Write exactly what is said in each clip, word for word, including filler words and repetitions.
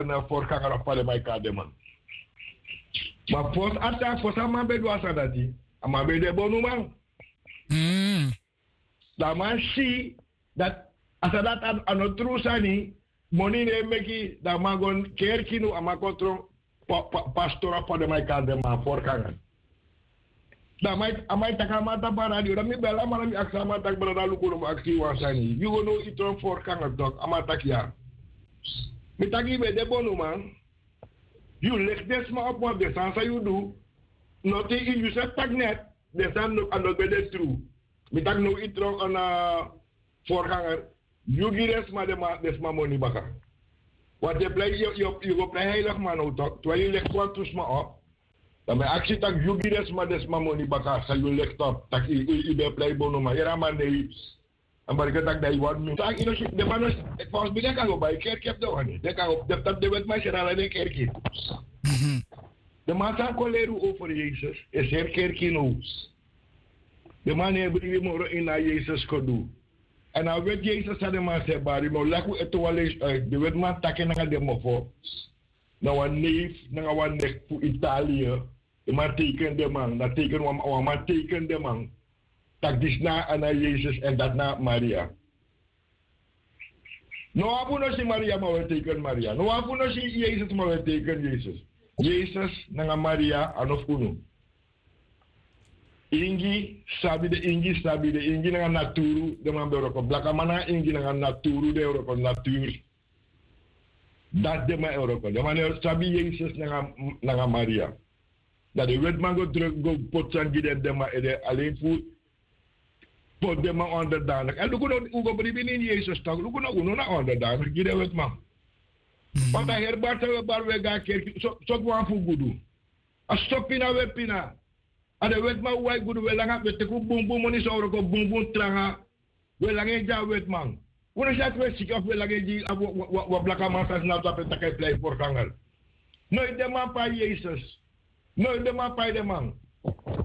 na forganger of fa den man e kari den man. Ma fosi a tan fosi a man ben du a sani dati, a man ben de bonuman. Dan a man si dati a sani dati a no tru sani. Moni no e meki. Dan a man go kerki now, a man kon tron pastor of fa den man e kari den man, forganger. Dan a man e taki a man tapu a radio, dan mi bel a man dan mi aksi a man taki brada luku no mus aksi yu wan sani, yu go now yu tron forganger tok? A man taki ya. Mi taki yu ben de bonuman. Yu leki den sma opo wan den sani san yu du. Noti yu seti taki net den sani a no ben de tru. Mi taki now yu tron na forganger. Yu gi den sma den sma moni baka. Wanten plei yu go plei heiligman now tok, terwijl yu leki kon tu sma op. Dan mi e aksi tak' yu gi den sma den sma moni baka san yu leki top tak' yu ben plei bonuman yere a man nei. A man reke tak' dan yu wani mi taki yu no si den man no si. Fawsi mi den kan go bai kerki efu den wani den kan go den taki den wetiman e seri ala den kerki. Den man san kon leri un over yesus e seri kerki now. Den man no e bringi moro ini a yesus kon du. Èn a weti yesus san den man sa e bari mi o laki un ete wan leisi uit den wetiman taki en nanga den mofo. Na wan neif nanga wan nek fu italia. Den man teiken den man na teiken wan man teiken den man. Tak' disi na a na yesus èn dati na maria. No wan fu un no si maria ma un e teiken maria no wan fu un no si yesus ma un e teiken yesus. Yesus nanga maria a no fu unu. Ingi sabi de ingi sabi de ingi nanga naturu den man ben wroko blakaman nanga ingi nanga naturu den wroko naturu. Dati den man e wroko den man no e sabi yesus nanga maria. Dan den wetiman go druk go poti sani gi den den man ede alen fu poti den man onderdanik èn luku no un go bribi na ini yesus tak' luku no unu na onderdanik gi den wetiman. Bata heri bari san un e bari un e go na kerki soki wan fu gudu. A so pina un e pina. A den wetiman un wai gudu un e langa un e teki un bunbun moni san un wroko bunbun tranga. Un e langa en gi a wetiman. Un no si dati un e siki of un e langa en gi wan blakaman san sinapu tapu e taki a e plei forganger. Noiti den man pai yesus. Noiti den man pai den man.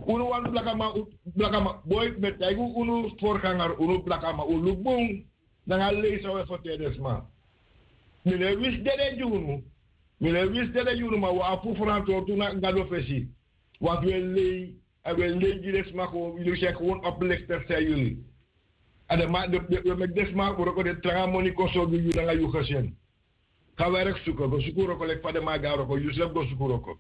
Unu wani blakaman blakaman boi mi e taigi unu forganger unu blakaman un luku bun. Nanga lei san un e ferteri den sma. Mi no e wisi dede gi unu. Mi no e wisi dede gi unu ma un abi fu ferantwortu na gado fesi. Wantu un e lei èn un e lei gi den sma kon yu seki won oplekter san yu. A den man den un e meki den sma wroko den tranga moni kon sorgu yu nanga yu gesin. Kan werk suku go suku wroko leki fa den man e go na wroko yu srefi go suku wroko.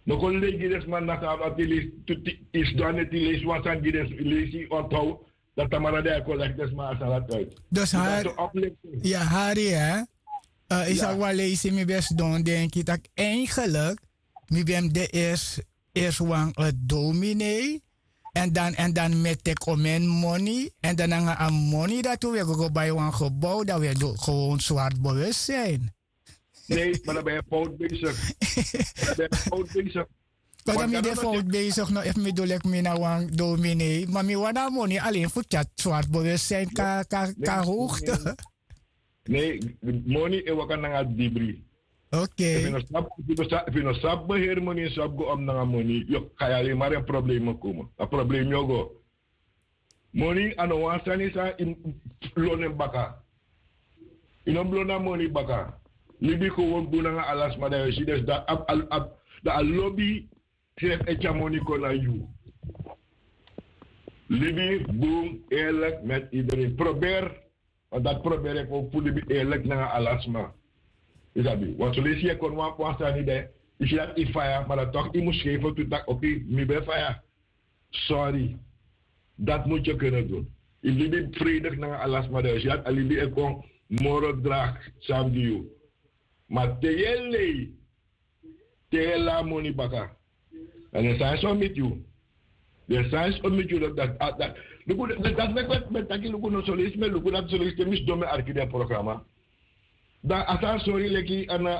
No kon lei gi den sma na san abi ati leisi tu isi du a neti leisi wan sani gi den leisi ontow. Dan tamara den a e kon leki den sma a san dati uit. Dus hari ya hari ya. Yu sabi wan leisi mi ben sidon denki tak' eigenlik mi ben mus de eerst eerst wan dominei. Èn dan èn dan mi e teki omen moni èn dan nanga a moni dati un e go go bai wan gebou dan un e du gewoon swart bewustzijn. Nee maar dan ben je fout bezig. Dan ben je fout bezig. Kota mi de fout bezig no efu mi du leki mi na wan dominei ma mi wani a moni alen fu tyari swart bewustzijn kan kan hoogte. Nee, moni e waka nanga dibri. Oké. Efu yu no sabi beheri moni yu sabi go om nanga moni yu o kai alemari en problema koma a problema yu o go. Moni a no wan sani san yu mus lon en baka. Yu no mus lon a moni baka. Libi kon won bun nanga ala sma dan yu o si den sda a lobi srefi e tyari moni kon na yu. Libi bun eerlik met ideren probeer. Wan dati proberi en kon fu libi eerlik nanga ala sma. Yu sabi wan soleisi yu e kon wan sani de. Yu si dati yu faya ma dan tok yu mus skeifi tu tak' oki mi ben faya. Sori. Dati mus yu kene dun. Yu libi fredik nanga ala sma de yu si dati a libi e kon moro drak san gi yu. Ma te yu e lei te yu e lai a moni baka. Èn den sani so miti yu. Den sani so miti yu dati dati dati meki mi e taki luku no soleisi mi e luku dati soleisi te mi sidon mi e arki den programa. Dan a sani sori leki a na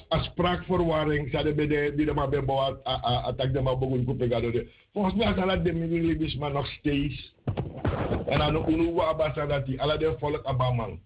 a sprak ferwaring san den ben de di den man ben bow a taki den man bogulu kupe gado de. Fonsi mi a sani dati den mi wini libisma noksteis. Èn a no unu wawa abi a sani dati ala den folk abi a man.